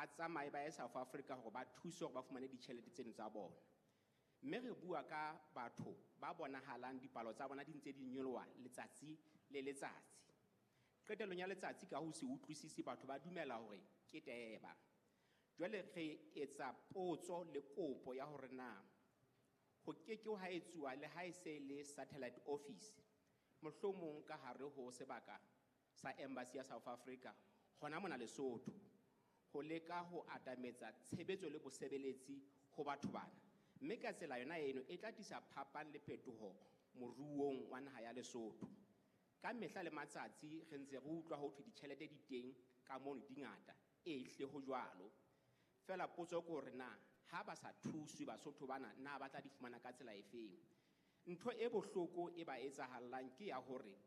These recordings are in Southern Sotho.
Ba tsamaye ba ye South Africa hore ba thuswe hore ba fumane ditjhelete tseno tsa bona. Mme re bua ka batho ba bonahalang dipalo tsa bona di ntse di nyoloha letsatsi le letsatsi. Qetellong ya letsatsi ka ho se utlwisise batho ba dumela hore ke teba. Jwale re etsa potso le kopo ya hore na ho ke ke ha etsuwa le ha e se le satellite office mohlomong ka hare ho sebaka sa embassy ya South Africa hona mona Lesotho ho leka ho atametsa tshebetso le bosebeletsi ho batho bana, mme ka tsela yona eno e tla tlisa phapang le phetoho moruong wa naha ya Lesotho. Ka mehla le matsatsi re ntse re utlwa ho thwe ditjhelete di teng ka mono di ngata, e hle ho jwalo. Feela potso ke hore na ha ba sa thuswe Basotho bana na ba tla di fumana ka tsela efeng. Ntho e bohloko e ba etsahallang ke ya hore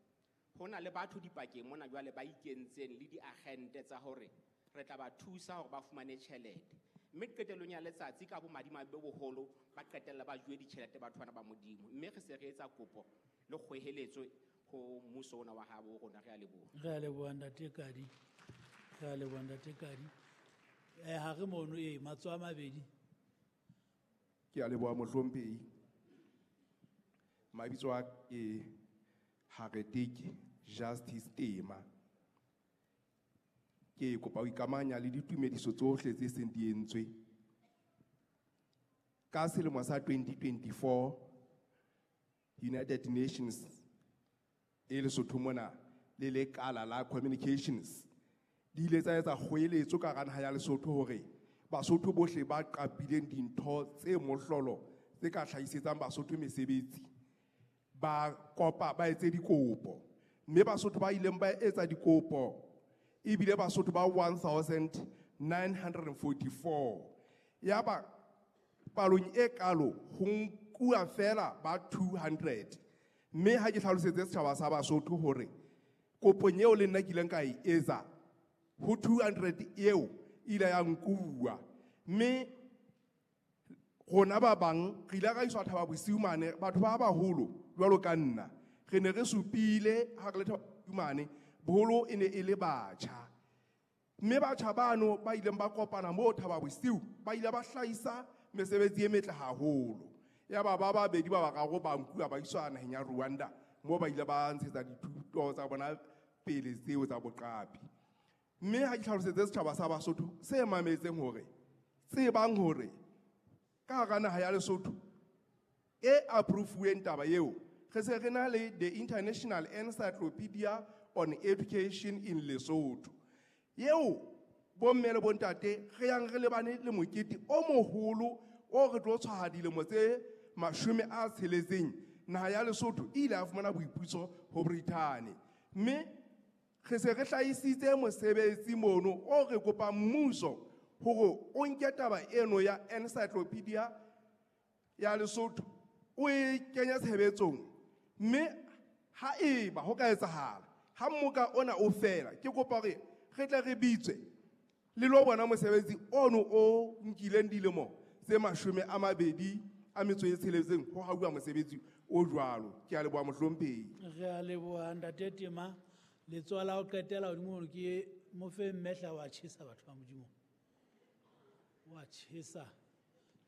ho na le batho dipakeng mona jwale ba ikentseng le diagente tsa hore re tla ba thusa hore ba fumane tjhelete, mme qetellong ya letsatsi ka bomadimabe bo boholo ba qetella ba juwe ditjhelete batho bana ba Modimo. Mme re se re etsa kopo le kgweheletso ho mmuso ona wa habo rona. Re a leboha. Re a leboha, ntate Kadi. Re a leboha, ntate Kadi. Ha re mono e matsoho a mabedi. Ke a leboha, mohlomphehi. Mabitso a ke Hareteke Justice Tema. Ke kopa ho ikamanya le ditumediso tsohle tse seng di entswe. Ka selemo sa 2024 United Nations e Lesotho mona le lekala la communications di ile tsa etsa kgoeletso ka hara naha ya Lesotho hore Basotho bohle ba qapileng dintho tse mohlolo tse ka hlahisetsang Basotho mesebetsi ba kopa ba etse dikopo, mme Basotho ba ileng ba etsa dikopo ebile Basotho ba 1944. Yaba palong e kalo ho nkuwa fela ba 200. Mme ha ke hlalosetse setjhaba sa Basotho hore kopong eo le nna ke ileng ka e etsa ho 200 eo ile ya nkuwa, mme rona ba bang re ile ra iswa Thaba Bosiu mane. Batho ba baholo jwalo ka nna re ne re supile ha re le Thaba Bosiu mane, boholo e ne e le batjha, mme batjha bano ba ileng ba kopana moo Thaba Bosiu ba ile ba hlahisa mesebetsi e metle haholo. Yaba ba babedi ba bararo ba nkuwa ba iswa naheng ya Rwanda moo ba ile ba ntshetsa dithuto tsa bona pele tseo tsa boqapi. Mme ha ke hlalosetse setjhaba sa Basotho se mametseng hore tsebang hore ka hara naha ya Lesotho e approve-uweng taba eo, re se re na le the International Encyclopedia on Education in Lesotho eo bomme le bontate re yang re lebane le mokete o moholo o re tlo tshwaha dilemo tse 60 naha ya Lesotho e ile ya fumana boipuso ho Britain. Mme re se re hlahisitse mosebetsi mono o re kopang mmuso hore o nke taba eno ya encyclopedia ya Lesotho o e kenye tshebetsong. Mme ha eba ho ka etsahala ha mmoka ona o fela, ke kopa hore re tle re bitswe le lo bona mosebetsi ono o nkileng dilemo tse 26 ho hauwa mosebetsi o jwalo. Ke a leboha, mohlomphehi. Re a leboha, ntate Tema. Letsoho la ho qetela hodimo hore ke mo fe mmehla wa tjhesa batho ba Modimo. Wa tjhesa.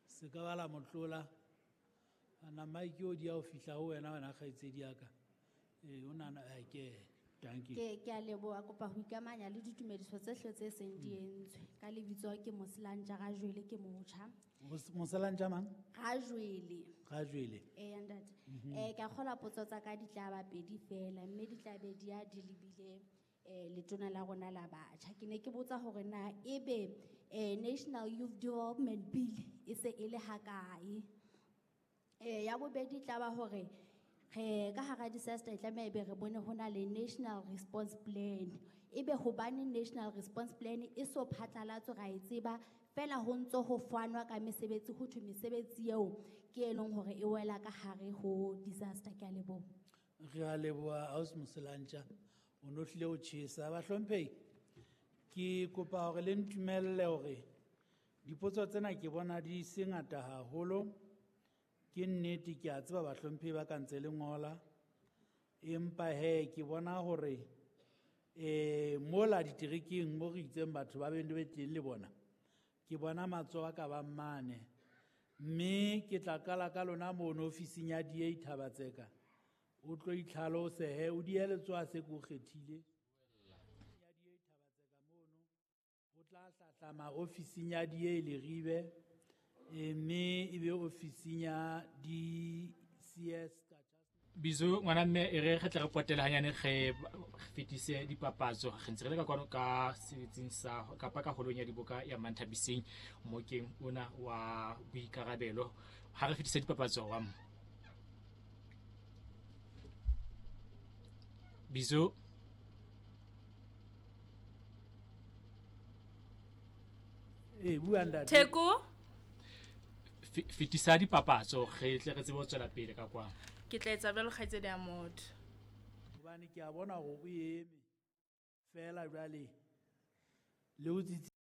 Se ka ba la motlola. Ana mike o di ya ho fihla ho wena, wena kgaitsedi ya ka. O nana ke thank you. Ke a leboha, kopa ho ikamanya le ditumediso tse hle tse seng di entswe. Ka lebitso ke Moselantja Rajwele, ke motjha. Moselantja mang? Rajwele. Rajwele. Eh, ntate. Ke a kgolwa potso tsa ka di tla ba pedi fela, mme di tla be di ya di lebile letona la rona la batjha. Ke ne ke botsa hore na ebe National Youth Development Bill e se e le hakae? Ya bobedi tla ba hore re ka hara disaster e tlameha ebe re bone ho na le National Response Plan. Ebe hobane National Response Plan e so phatlalatswe ra e tseba fela ho ntso ho fanwa ka mesebetsi, ho thwe mesebetsi eo ke e leng hore e wela ka hare ho disaster. Ke a leboha. Re a leboha, ausi Moselantja. O no hlile o tjhesa. Bahlomphehi, ke kopa hore le ntumelle hore dipotso tsena ke bona di se ngata haholo. Ke nnete ke a tseba bahlomphehi ba ka ntse le ngola, empa he ke bona hore mola diterekeng mo re itseng batho ba be teng le bona. Ke bona matsoho a ka bang mane. Mme ke tla qala ka lona mono ofising ya DA Thaba-Tseka. O tlo itlhalose he, o dihe letsoho ha se ke o kgethile. Ya DA Thaba-Tseka mono, o tla hlahlama ofising ya DA Leribe, mme ebe ofising ya DCS ka Bizo ngwana mme e re re tle re potele hanyane re fetise dipapatso. Re ntse re le ka kwano ka setsing sa kapa ka holong ya diboka ya Manthabiseng mokeng ona wa boikarabelo. Ha re fetise dipapatso wa Bizo. Bua ntate. Theko. Fetisa dipapatso re tle re tsebe ho tswela pele ka kwano. Ke tla etsa jwalo kgaitsedi ya motho. Hobane ke a bona hore o eme fela jwale le o tsitsi